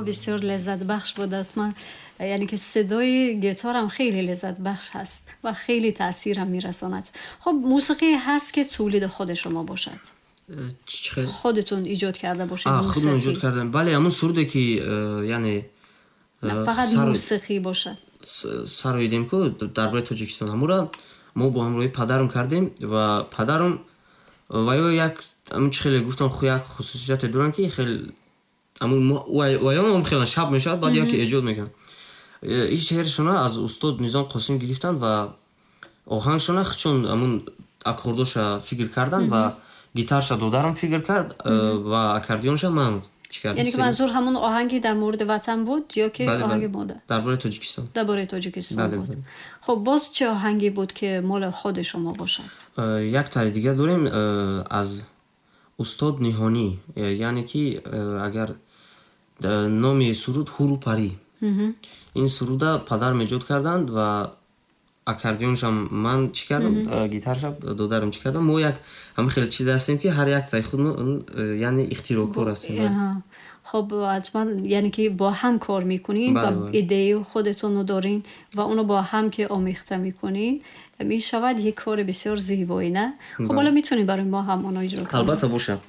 Бисёр лаззатбахш буд. Ҳатман, яъне ки садои гитарам хеле лаззатбахш ҳаст ва хеле таъсирам мерасонад. Хуб, мусиқӣ ҳаст, ки тулиди худи шумо бошад? Чӣ хел? Худатон эҷод карда бошед? Худмон эҷод мусиқӣ. Кардем, бале, ҳамун суруде ки яъне фақат мусиқӣ бошад. Сароидем ку дар бораи Тоҷикистон, ҳамура мо бо ҳамроҳи падарам кардем ва падарам ва ё як ҳамун чӣ хеле гуфтам, як хусусияте доранд, ки хел ваём хеле шаб мешавад, баъд яке эҷод мекунанд. Ин шеършона аз устод Низом Қосим гирифтанд ва оҳангшона чун ҳамун аккордоша фикр карданд ва гитарша додарам фикр кард ва аккордеонша ман чӣ кардам. Яъне ки манзур ҳамун оҳанги дар мавриди ватан буд ё ки оҳанги модар? Дар бораи Тоҷикистон. Дар бораи Тоҷикистон буд. Хуб, боз чӣ оҳанге буд, ки моли худи шумо бошад? Як тари дигар дорем аз устод Ниҳонӣ, яъне ки агар номи суруд «Ҳуру парӣ». Ин суруда падарам эҷод карданд ва аккордеоншам ман чӣ кардам, гитарша додарам чӣ кардам. Мо як ҳамин хел чиз ҳастем, ки ҳар як таи худмо, яъне ихтироъкор ҳастем. Хуб, ҳатман, яъне ки бо ҳам кор мекунин ва идеяи худатонро дорин ва онро бо ҳам ки омехта мекунин, мешавад як кори бисёр зебоӣ, не? Хуб, ҳоло метавонед барои мо ҳам онро иҷро кунед? Албатта, бошад.